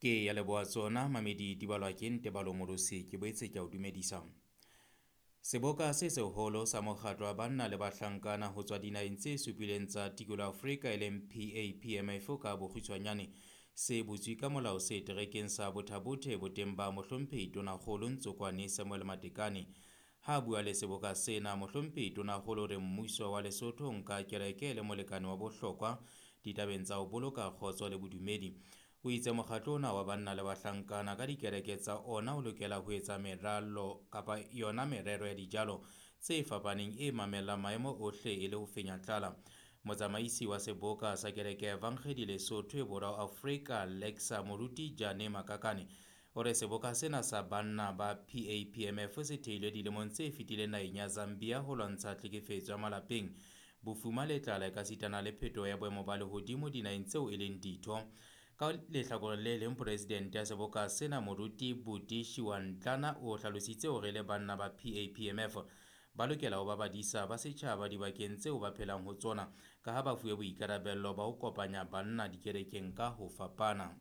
Ke ya leboha tsona mamedi di balwa ke Ntebalo Molosi, ke boetse ke a o dumedisa. Seboka se seholo sa mokgatlo wa banna le bahlankana ho tswa dinaheng tse supileng tsa tikolo Afrika e leng PAPMF ka bokgutshwanyane se butswe ka molao seterekeng sa Botha-Bothe boteng ba mohlomphehi Tonakgolo Ntsokoane Samuel Matekane. Ha a bua le seboka sena, mohlomphehi Tonakgolo o re mmuso wa Lesotho o nka kereke e le molekane wa bohlokwa ditabeng tsa ho boloka kgotso le bodumedi. O itse mokgatlo ona wa banna le bahlankana ka dikereke tsa ona o lokela ho etsa meralo kapa yona merero ya dijalo tse fapaneng e mamellang maemo ohle e le ho fenya tlala. Motsamaisi wa seboka sa kereke ya Evangedi Lesotho e Borwa Afrika Lexa Moruti Jane Makakane o re seboka sena sa banna ba PAPMF se theilwe dilemong tse fetileng naheng ya Zambia ho lwantsha tlhekefetso ya malapeng, bofuma le tlala ekasitana le phetoho ya boemo ba lehodimo dinaheng tseo e leng ditho. Ka lehlakoreng le leng, presidente ya seboka sena Moruti Buti Shiwantlana o hlalositse hore le banna ba PAPMF ba lokela ho ba badisa ba setjhaba dibakeng tseo ba phelang ho tsona, ka ha ba fuwe boikarabello ba ho kopanya banna dikerekeng ka ho fapana.